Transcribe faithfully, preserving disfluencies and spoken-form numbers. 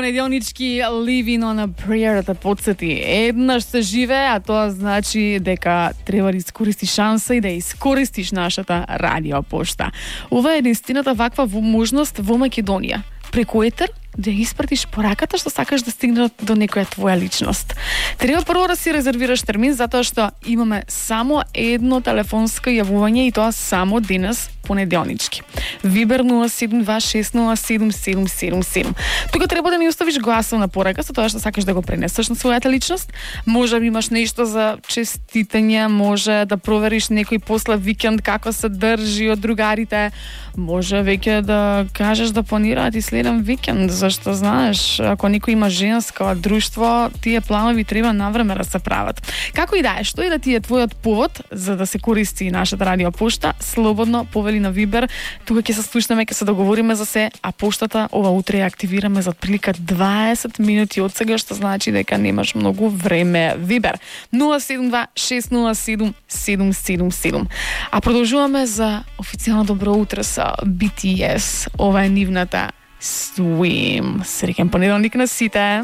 Понеделнички Living on a Prayer да подсети. Еднаш се живее, а тоа значи дека треба да искористиш шанса и да искористиш нашата радио пошта. Ова е единствената ваква можност во Македонија. Преку етер да испратиш пораката што сакаш да стигне до некоја твоја личност. Треба прво да си резервираш термин, затоа што имаме само едно телефонско јавување и тоа само денес, понеделнички. Вибер нула седум два шест нула седум седум седум седум. Тука треба да ни оставиш гласовна порака со тоа што сакаш да го пренесеш на својата личност. Може би имаш нешто за честитање, може да провериш некој после викенд како се држи од другарите, може веќе да кажеш да планираат и следен викенд, зашто знаеш, ако некој има женско друштво, тие планови треба навреме да се прават. Како и да е, што и да ти е твојот повод за да се користи нашата радио пошта, слободно повели на Вибер. Тука ќе се слушнеме, ќе се договориме за се, а поштата ова утре ја активираме за отприлика дваесет минути од сега, што значи дека немаш многу време. Вибер нула седум два шест нула седум седум седум седум. А продолжуваме за официјално добро утро со би ти ес. Ова е нивната Swim. Среќен понеделник на сите.